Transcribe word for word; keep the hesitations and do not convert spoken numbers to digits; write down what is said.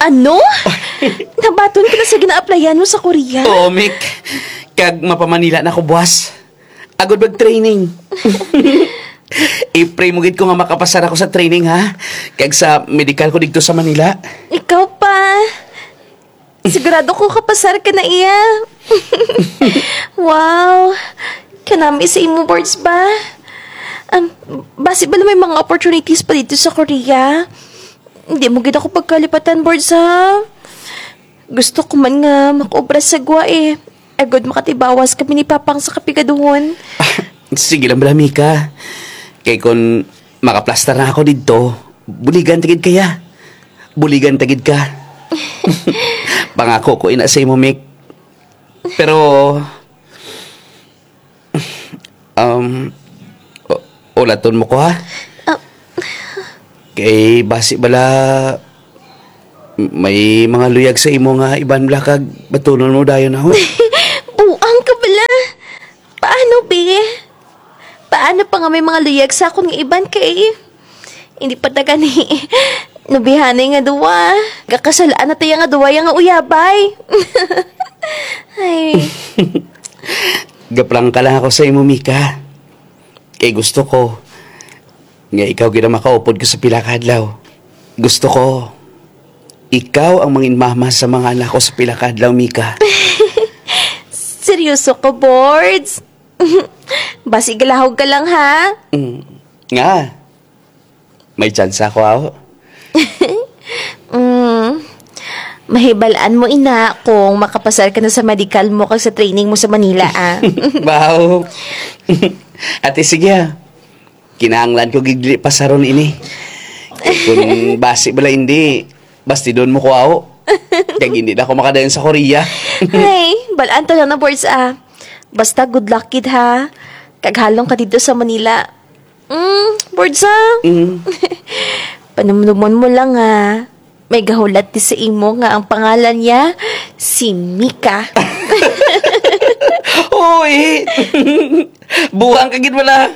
Ano? Nabaton ka na sa gina-applyan mo sa Korea? Oo, Mick. Kag mapamanila na ko buwas. Agod mag-training. I-pray mo gid ko nga makapasar ako sa training, ha? Kag sa medical ko dito sa Manila. Ikaw pa. Sigurado ko kapasar ka na iya. Wow. Kanami sa imo, Bords, ba? Um, basi ba may mga opportunities pa dito sa Korea? Hindi mo gid ako pagkalipatan, Bords, ha? Gusto ko man nga makaobra sa gwa, eh. Agod makatibawas kami ni Papang sa kapigaduhon. Sige lang bala, Mika. Kay kun makaplastar na ako didto, buligan ta gid kaya. Buligan ta gid ka. Pangako ko ina sa imo, Mik. Pero, um, u-, ulaton mo ko, ha? Ah. Kay basi bala may mga luyag sa imo nga iban bala kag batunon mo dayon ako. Buang ka bala. Paano, be? Paano pa nga may mga luyag sa akon nga iban kay hindi pa ta gani nubihanay nga duwa? Gakasal-an na taya nga duwa ya nga uyabay. Ay. Gaprangka lang ako sa imo, Mika. Kay gusto ko nga ikaw gid ang makaupod ko sa pila ka adlaw. Gusto ko ikaw ang mangin mama sa mga anak ko sa pila ka adlaw, Mika. Seryoso ka, Bords? Basi galahog ka lang, ha? Mm. Nga? May tsansa ako, aw? Mm. Mahibalaan mo, ina, kung makapasar ka na sa medical mo kag sa training mo sa Manila, ah. Wow. Ate, sige, ah. Kinahanglan ko gid dili pasaron ini. Kung basi bala hindi, bastidon mo ko, aw. Kag hindi na ako makadayon sa Korea. Ay, balaan ta lang na, Bords, ah. Basta good luck gid, ha. Kag halong ka dito sa Manila. Mm, Bords, ah. Mm. Panumdumon mo lang, ah. May gahulat di sa imo nga ang pangalan niya si Mika. Uy! Buang ka gid wala.